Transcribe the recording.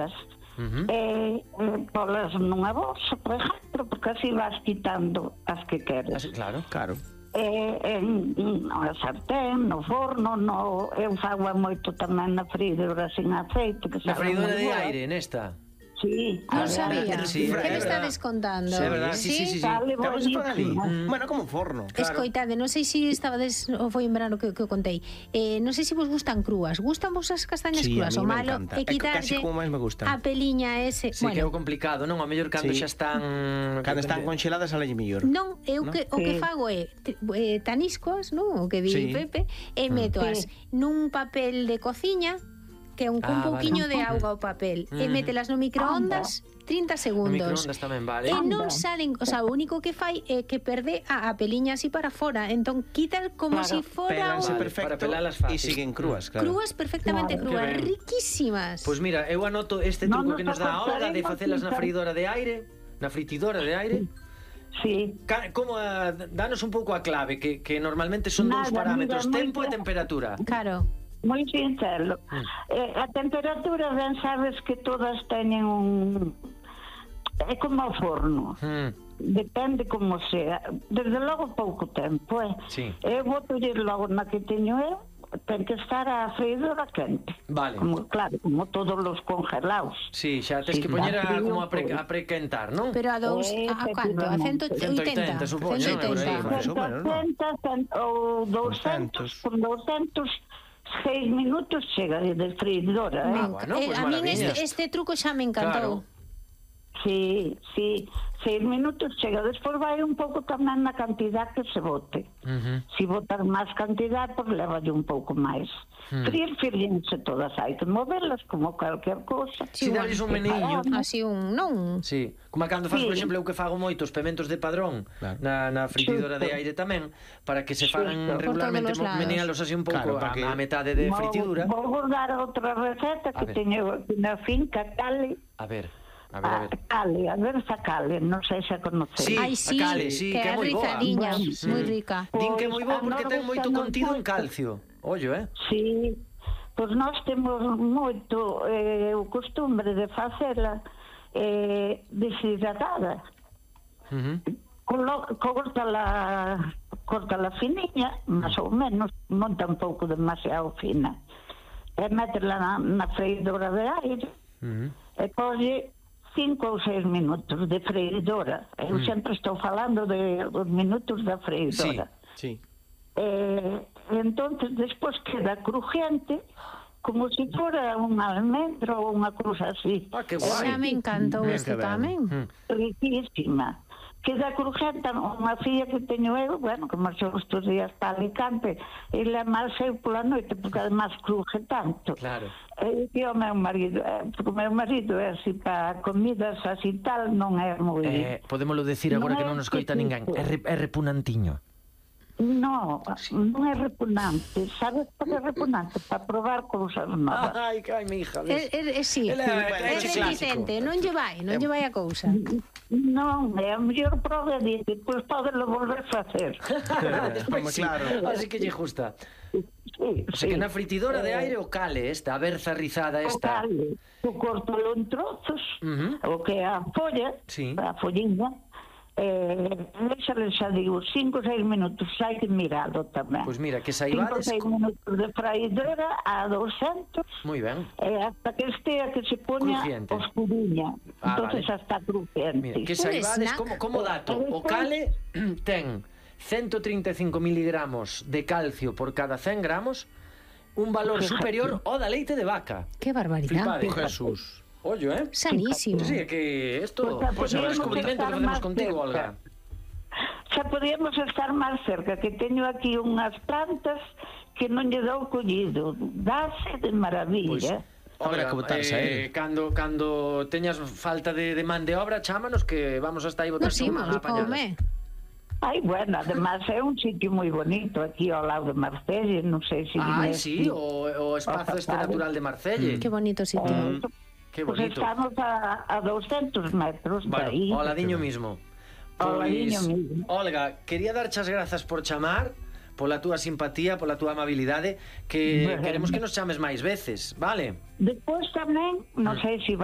medidas. Polas nunha bolsa, por exemplo, porque así vas quitando as que queres. Claro. Na sartén, no forno, eu fago moito tamén na freidora sin aceite. Na freidora de aire, nesta? Sí. Non sabía. Sí, Que me está descontando? Sí, é verdad. Sí. Vale, Bueno, como un forno. Escoitade, non sei se estabades ou foi en verano que o contei. Non sei se vos gustan crúas. Gustan vos as castañas Sí, crúas? a O mí me malo encanta. é quitarlle Casi como máis me gustan. a peliña ese. Sí, que é o complicado, non? Ao mellor cando xa están... Cando están congeladas, sale mellor. Non, eu o que fago é taniscoas, non? O que di Pepe, e metoas nun papel de cociña que un pouquiño de auga ao papel e mételas no microondas 30 segundos. No microondas tamén, vale. E non salen, o sea, o único que fai é que perde a peliña así para fora. Entón quita como si fora Pélanse Vale, perfecto para pelalas fácil. e siguen crúas, claro. crúas perfectamente crúas, riquísimas. Pois mira, eu anoto este truco que nos dá a Olga de facelas na freidora de aire, na fritidora de aire. Sí. Como danos un pouco a clave, que normalmente son dous parámetros, tempo e temperatura. Claro. Moi sincero. A temperatura, ben sabes que todas teñen un... É como o forno. Depende como sea. Desde logo pouco tempo, Sí. Eu boto logo na que teño eu, ten que estar a freidora quente. Vale. Claro, como todos os congelados. Sí, xa tens que poñer como a prequentar, non? Pero a canto? A 180? 180, supoño, 180 ou 200, con 200 6 minutos chega de freidora. Bueno, pues a min maravilla. este truco xa me encantou. Sí, 6 minutos chega. Despois vai un pouco tamén na cantidad que se bote. Si botas máis cantidad, pois levalle un pouco máis. Firllense todas, hai que moverlas como calquer cousa. Si dales un meneillo. Así non? Sí, como cando faz, por exemplo, eu que fago moitos pementos de padrón na fritidora de aire tamén, para que se fagan regularmente, menealos así un pouco a metade de fritidura. Vou dar outra receta que teño na finca, Cale. A ver. Cale, a ver esa Cale, non sei se a conocéis. Sí, a Cale, sí, que é moi boa. Moi rica. Din que é moi boa porque ten moito contido en calcio. Ollo, Sí, pois nós temos moito o costumbre de facela deshidratada. Cortala finiña, máis ou menos, non tampouco demasiado fina. E meterla na freidora de aire e colle 5 ou 6 minutos de freidora. Eu sempre estou falando dos minutos da freidora. Sí. Entonces despois queda crujiente como se fora un almendro ou unha cousa así. Que guai. Xa me encantou este tamén. Riquísima. Queda crujiente. Unha filla que teño eu, bueno, que marchou estes días para Alicante, ela máis eu pola noite, porque además cruje tanto. Claro. E o meu marido, porque o meu marido é así para comidas así tal, non é moi... Podémoslo decir agora que non nos coita ninguén. É repunantiño. Non é repugnante. Sabes por que é repugnante? Para probar cousas novas. Ai, mi hija. Sí, é reticente, non lle vai a cousa. Non, é a mellor prova de depois podelo volver a facer. Claro. Así que lle gusta. O sea que na fritidora de aire o Cale esta, a berza rizada esta. O Cale, tu cortalo en trozos, o que é a folla, a follinha, deixale xa digo 5 ou 6 minutos, hai que miralo tamén. Pois mira, que saibades 5 ou 6 minutos de freidora a 200. Moi ben. Hasta que estea que se poña oscuriña. Entonces xa está crujiente. Mira, que saibades como dato, o Cale ten 135 miligramos de calcio por cada 100 gramos, un valor superior ao da leite de vaca. Que barbaridade. Jesús. Ollo, Sanísimo. Sí, que esto pues, é un descubrimento que facemos contigo, Olga. Xa podíamos estar máis cerca, que teño aquí unhas plantas que non lle dou collido. Dase de maravilla. Olga, cando teñas falta de man de obra, chámanos que vamos hasta aí botar unha apañada. Ai, bueno, además é un sitio moi bonito aquí ao lado de Marcelle, non sei se... Ai, sí, o espazo este natural de Marcelle. Que bonito sitio. Que bonito. Pues estamos a 200 metros de aí. Ao ladiño mismo. Olga, quería darche as grazas por chamar, pola túa simpatía, pola túa amabilidade, que queremos que nos chames máis veces, vale? Despois tamén, non sei se vai